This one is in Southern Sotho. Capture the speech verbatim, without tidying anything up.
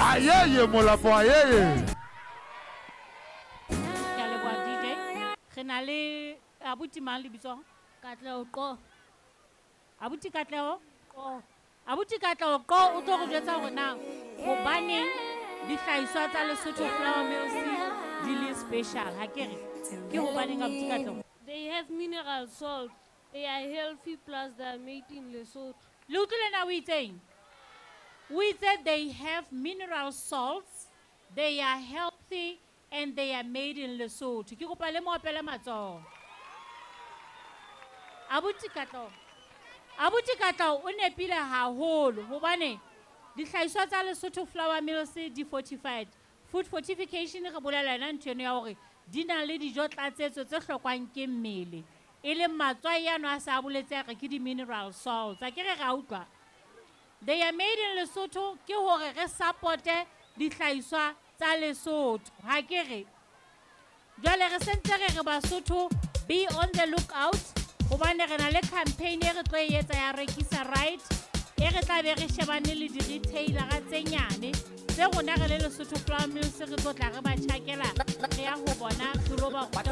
Ayeye Molapo ayeye. Ke a leboha D J. Re na le abuti mang lebitso? Katleho Qo. Abuti Katleho? Qo. Abuti Katleho Qo o tlo re jwetsa hore na hobaneng dihlahiswa tsa Lesotho Flour Mills di le special, ha ke re? Ke hobaneng abuti Katleho? They have mineral salt. They are healthy plus they are made in Lesotho. Le utlwile na o itseng? O itse they have mineral salts, they are healthy and they are made in Lesotho. Ke kopa le mo opele matsoho. Abuti Katleho. Abuti Katleho o nepile haholo hobane dihlahiswa tsa Lesotho Flour Mills di fortified. Food fortification re bolela yona ntho eno ya hore di na le dijo tlatsetso tse hlokwang ke mmele. E leng matswai ano a sa boletse a re ke di-mineral salts. A ke re ra utlwa? They are made in Lesotho ke hore re supporte dihlahiswa tsa Lesotho. Ha ke re? Jwale re sentse re re Basotho, be on the lookout hobane re na le campaign e re tlo e etsa ya Rekisa Right, e re tla be re shebane le di-retailera tse nyane tse rona re le Lesotho Flour Mills re tlo tla re ba tjhakela, re ya ho bona re lo ba ruta